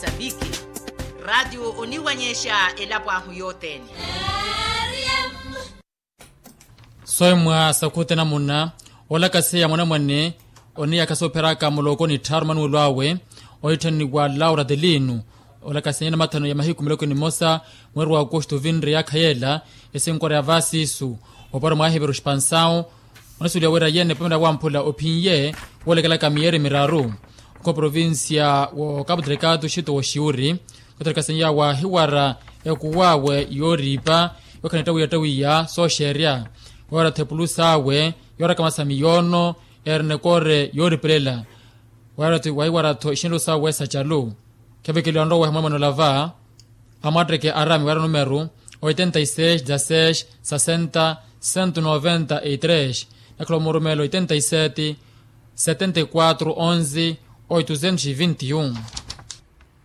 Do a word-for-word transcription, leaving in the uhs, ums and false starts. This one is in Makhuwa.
Saviki. Ratio oniwanyexa elapo ahu yothene. Soimwa sakhuti namuna olakaseya mwanamwane oniyakha soopheraka muloko ni tthaaru manuwelo awe oitthaniwa laura delino. Olakaseya namathano ya mahiku miloko nimosa mweri wa agosto vinre yakhayela esinkora ya vasisu oparo mwahiveru xipansau. Onasuweliwa wira yene pamela wamphula ophinye woolekelaka miyeeri miraru. Okho provincia wo capu delicado xito woxiwuri kotelekaseniya wahiwara ekuwawe yooriipa yokhana ettawiyattawiya sooxeerya. Wahiwara thepulusawe yooraka masami yoono erinekore yooripelela. Wahiwara-tho ixinelo sawe sacalu. Khevikeliwa nroweha mwemwene olava amwatteke arami wira numeru oitenta y seis dezasseis sasenta cento noventa y tres. Nakhala omurumela oitenta y sete setenta y quatro onze oitocentos y vinte y um.